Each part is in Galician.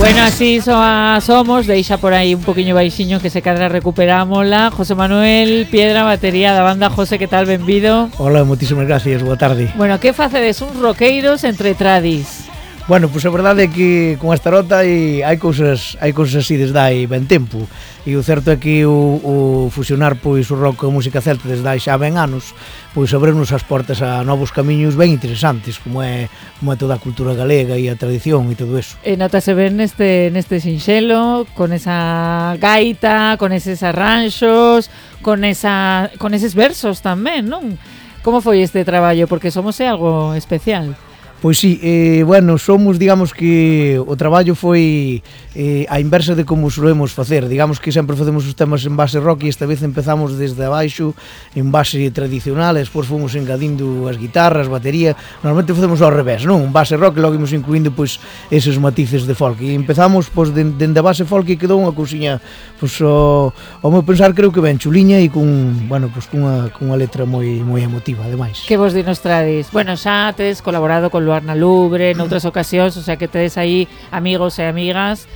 Bueno, así somos, deixa por aí un poquinho baixiño que se cadra recuperámola. José Manuel Piedra, batería da banda. José, que tal? Benvido. Hola, moitísimas gracias, boa tarde. Bueno, que facedes uns roqueiros entre tradis? Bueno, pois a verdade é que con esta rota hai cousas así desde hai ben tempo. E o certo é que o fusionar pois o rock con a música celta desde hai xa ben anos, pois abrirnos as portas a novos camiños ben interesantes, como é toda a cultura galega e a tradición e todo eso. E notase ben neste sinxelo, con esa gaita, con eses arranxos, con eses versos tamén, non? Como foi este traballo? Porque somos algo especial. Pois sí, bueno, somos, digamos que o traballo foi a inversa de como solemos facer. Digamos que sempre facemos os temas en base rock e esta vez empezamos desde abaixo en base tradicional e despois fomos engadindo as guitarras, batería. Normalmente facemos ao revés, non? En base rock e logo imos incluindo pois eses matices de folk. E empezamos pois dende a base folk e quedou unha cousiña pois ao meu pensar creo que ben chuliña e con, bueno, pois cunha letra moi emotiva ademais. Que vos dinos tradis? Bueno, xa tedes colaborado con Luar na Lubre noutras ocasións, o sea que tedes aí amigos e amigas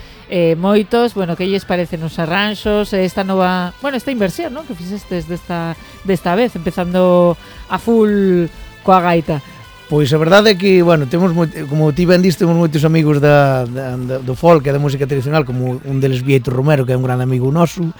moitos. Bueno, que lles parecen os arranxos esta nova, bueno, esta inversión, non? Que fixestes desta vez, empezando a full coa gaita. Pois a verdade é que, bueno, temos como ti ben diste, temos moitos amigos do folk e da música tradicional, como un deles Vieito Romero, que é un gran amigo noso,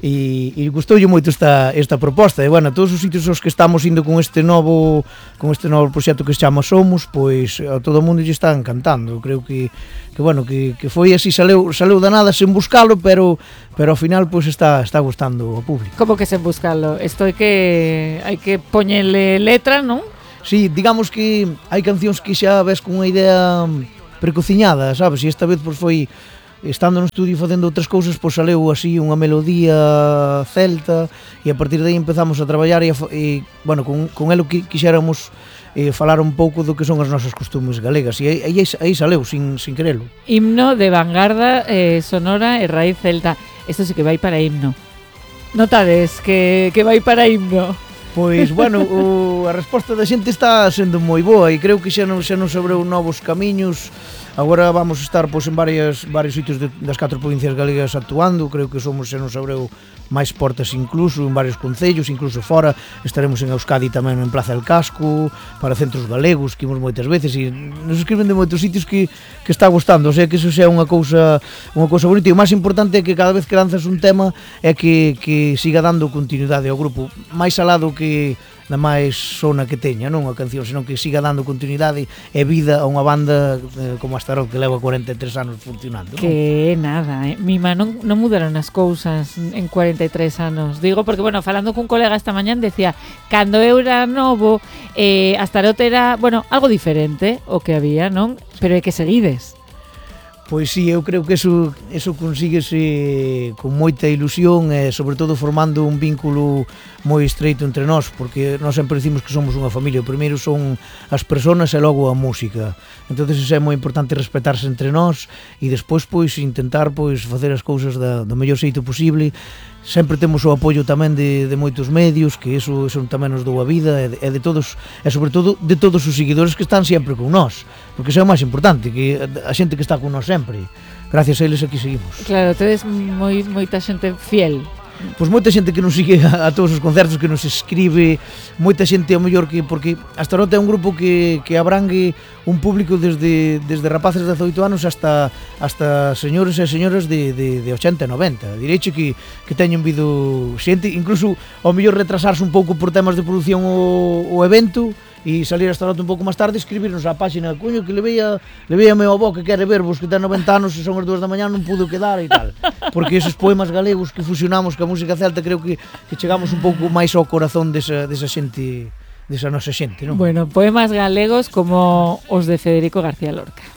e gustoulle moito esta proposta. E, bueno, todos os sitios aos que estamos indo con este novo proxecto que se chama Somos, pois a todo o mundo lle está encantando. Eu creo que bueno, que foi así, saleu da nada sen buscalo, pero ao final pois está gustando ao público. Como que sen buscalo? Isto hai que poñerle letra, non? Sí, digamos que hai cancións que xa ves con unha idea precociñada, sabes? E esta vez pois foi estando no estudio facendo outras cousas, pois saleu así unha melodía celta e a partir de aí empezamos a traballar e bueno, con elo que quixéramos falar un pouco do que son as nosas costumes galegas e aí saleu sin querelo. Himno de vanguarda sonora e raíz celta. Isto sí que vai para himno. Notades que vai para himno. Pois, bueno, a resposta da xente está sendo moi boa e creo que xa nos abreu novos camiños. Agora vamos estar pois en varios sitios das 4 provincias galegas actuando. Creo que xa nos abreu máis portas incluso en varios concellos, incluso fora. Estaremos en Euskadi tamén en Plaza del Casco, para centros galegos, que imos moitas veces e nos escriben de moitos sitios que está gustando. O sea que iso xa é unha cousa bonita e o máis importante é que cada vez que lanzas un tema é que siga dando continuidade ao grupo, máis alado que na máis sona que teña, non a canción, senón que siga dando continuidade e vida a unha banda como a Starot que leva 43 anos funcionando, non? Que nada, Mima, non mudaron as cousas en 43 anos. Digo porque, bueno, falando cun colega esta mañán decía, cando eu era novo a Starot era, bueno, algo diferente o que había, non? Pero é que seguides. Pois sí, eu creo que eso consíguese con moita ilusión e sobre todo formando un vínculo moi estreito entre nós, porque nós sempre dicimos que somos unha familia. O primeiro son as persoas e logo a música. Entonces é moi importante respetarse entre nós e despois pois intentar pois facer as cousas do mellor xeito posible. Sempre temos o apoio tamén de moitos medios, que eso tamén nos dou a vida e de todos, e sobre todo de todos os seguidores que están sempre con nós, porque isso é o máis importante, que a xente que está con nós sempre, gracias a eles aquí seguimos. Claro, tedes moita xente fiel. Pois moita xente que nos sigue a todos os concertos, que nos escribe, moita xente ao mellor que, porque a Starot é un grupo que abrangue un público desde rapaces de 18 anos hasta señores e señoras de 80 e 90. Direiche que teñen vido xente, incluso ao mellor retrasarse un pouco por temas de produción o evento e salir a Starot un pouco máis tarde, escribirnos á páxina, coño, que le veía a meu avó que quere vervos, que ten 90 anos e son as 2 da mañá, non pudo quedar e tal. Porque esos poemas galegos que fusionamos ca música celta, creo que chegamos un pouco máis ao corazón desa xente, desa nosa xente, non? Bueno, poemas galegos como os de Federico García Lorca.